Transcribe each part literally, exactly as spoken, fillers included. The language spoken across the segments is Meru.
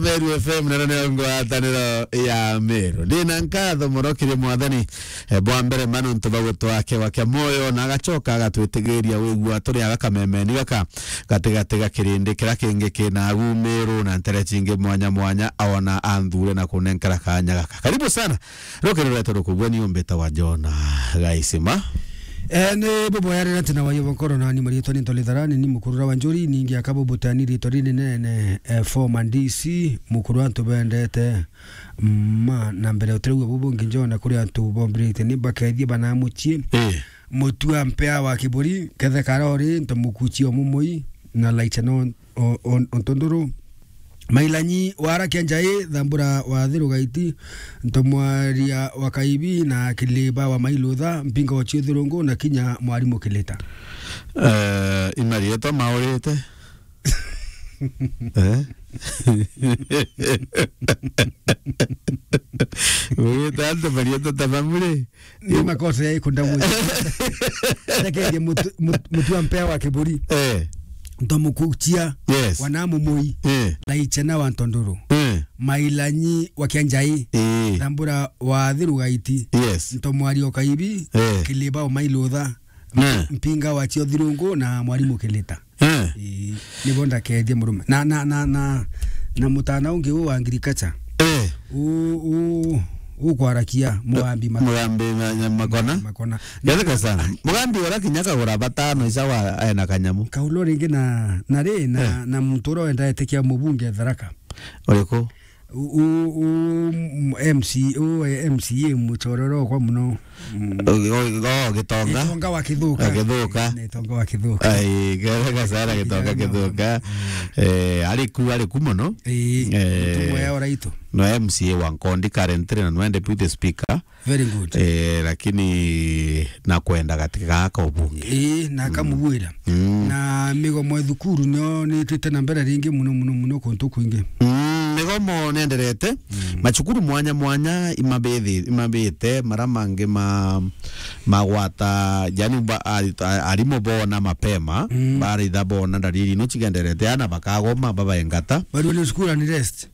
Meru F M, na nene ngwataniro ya Meru. Ndina nkatho mono kiri Mwathani, eh, bwa mbere ma nontu bwa gutwaa kewa kia moyo, na agacoka agatwitigiria wigua turi aga kamemeni gaka, gatigati ga kirindi kiria kingi kina agu Meru na ntere cingi mwanya mwanya, aona anthure na kunenkera kanya gaka. Karibu sana. Rukiri rwetu rukugua ni umbita wa Jona Gaisima. Eh, ni buboya rira tina wayo bonkoro na ni marietwa ni Ntoli Tharani, ni mukurura wa Njuri, ningi akabu butani rietwa rinene, eh, former D C, mukuru antu bendete, ma, na mbere utirauga bubu ngi Jona kuri antu bombirite ni bakethie bana mucii. Eh. Mutua mpea wa kiburi, kethe karori, nto mukuchio mumui, na laicha no o-, o-, ontonduru. Mailanyi wara kia njai, thambura wa thiru gaiti, ntomwaria wa kaibi na kiliba wa mailutha, mpinga wa chiuthurungu na kinya mwarimu kilita. Eh, imarietwa maurite. Eh? Ugita antu marietwa ta bamuri. Ni makosa ya ikunda mwe. Ndekerie mutu-, mut-, mutua mpea wa kiburi. Eh. Ntomukuchia. Yes. Wana mumui. Eh. Na ichena wa ntondoro. Eh. Mailanyi wa kia njai. Eh. Thambura wa thiru gaiti. Yes. Ntomwario kaibi. Eh. Kiliba o mailutha. Eh. Mpinga wa chio thirungu na mwarimu kilita. Eh. Ii, nibo ndakethie murume. Na, na, na, na, na mutana ungi u wa agriculture. Eh. U, u, ukwarakia Mugambi Makona. Mugambi ma-, nya-, Makona. Makona. Gatheka sana. Mugambi ora kinya kagura batano isawa ena kanyamu. Kaulu ringi na, na ri, na, Eh. na muntu uria wendaete kia mubunge Tharaka. Uriku? U, u, u, m-, M C, u, eh, M C A muchororo kwa muno. Mm. O, o, o, Gitonga. Gitonga wa Kithuka. Wa Kithuka. Ni Gitonga wa Kithuka. Ai, gatheka sana Gitonga Gitonga. Kithuka. Mm. Eh, ari ku, ari ku muno. Ii, Eh, mutumwa ya oraitu. No M C A wa Nkondi currently na no deputy speaker. Very good. Eh, lakini na kwenda katika gaka ubunge. Ii, na akamubwira. Mm. Na migomo ya thukuru nio nitwite na mbere ringi muno, muno, muno kuntu kwingi. Mm, migomo nenderete. Mm. Macukuru mwanya mwanya imabithi-, imabite, mara mangi ma-, magwata, yani ba-, a-, a-, arimu bona mapema, Mm. baraitha bona ndariri ino chigenderete, ana bakagoma, babaengata. Bado ni school and rest.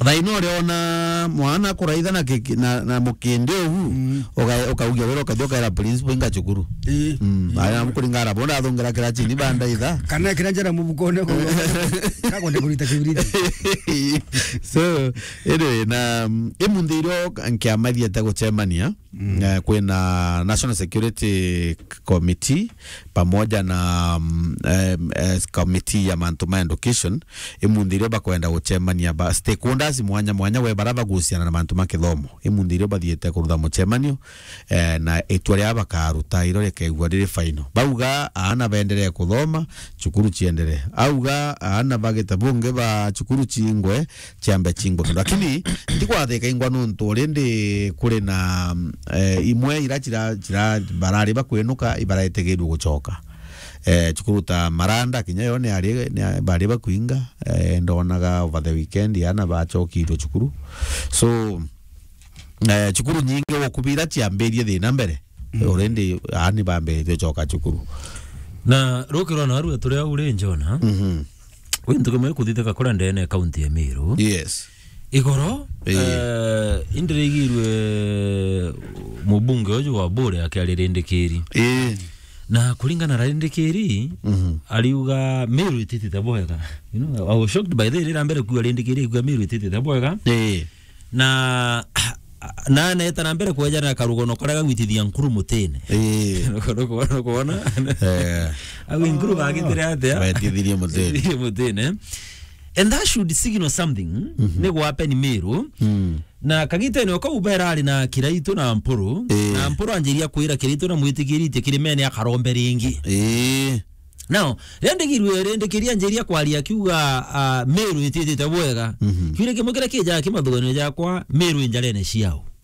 Thaino uriona mwana kuraitha na kiki-, na, na mukindi ugu, Mm. uka-, ukaugia wira ukathi ukaira principal inga cukuru. Ii. Mm. Ii. Aya mukuringara bona athungira kirachini bandaitha. Kana kira njara mubukone ko. Kakwenda kurita kibiriti. So, anyway, na, mm, imunthi irio nkiamathiete gucemania, Mm. Eh, kwina National Security Committee pamoja na, mm, em, eh, committee ya mantu ma education, imunthi irio bakwenda gucemania ba stakeholders mwanya mwanya we bara bagusiana na mantu ma kithomo. Imunthi irio bathiite kurutha mucemanio, eh, na itua ria bakaruta iro rikaigua riri final. Bauga aana baenderee kuthoma, cukuru cienderee. Auga aana bagita bungi ba cukuru cingwe, ciambe chingwa kindu. Lakini ndigwathika ingwa nontu already kuri na, eh, imwe ira chira, chira barari bakwinuka, ibaraetegerwe gucoka. Eh, cukuru ta Maranda, kinya yo ni ari, ni a-, bari bakuinga, eh, ndonaga over the weekend, ana bachokirwe cukuru. So, eh, cukuru nyingi gukubira ciambirie thina mbere. Mm. Already, ani bambiritie gucoka cukuru. Na rukirwa na arua turi au ri Jona. Mhm. Kwi ntuku imwe ikuthithika kuria ndene kaunti ya Meru. Yes. Igoro, Ii. eh, indirigirwe mubunge uju wa Bure akiaria Rindikiri. Ii. Na kuringana na Rindikiri, Mhm. ariuga Meru ititite bwega. You know, I was shocked by the way, rira mbere kuua Rindikiri, kuua Meru ititite bwega. Ii. Na, na aneta na mbere kwejana na karugono karia gagwitithia nkuru mutine. Ii. Nukwona? Eh. Au nkuru bagitire atia? Baitithirie mutine. Itithirie mutine. And that should signal something. Mhm. Ni gwa happen Meru. Mm. Na kagitene o kau berari na Kiraitu na Mpuru. Ii. Na Mpuru anjiria kwira Kiraitu na mwitikiritie kirimene akarombe ringi. Ii. Now, riria ndigirwe Rindikiri anjiria kwaria akiuga, ah, Meru ititite bwega. Mhm. Kiuria kimwe kiria kijaga kimathuganio jakwa, Meru injarene ciao.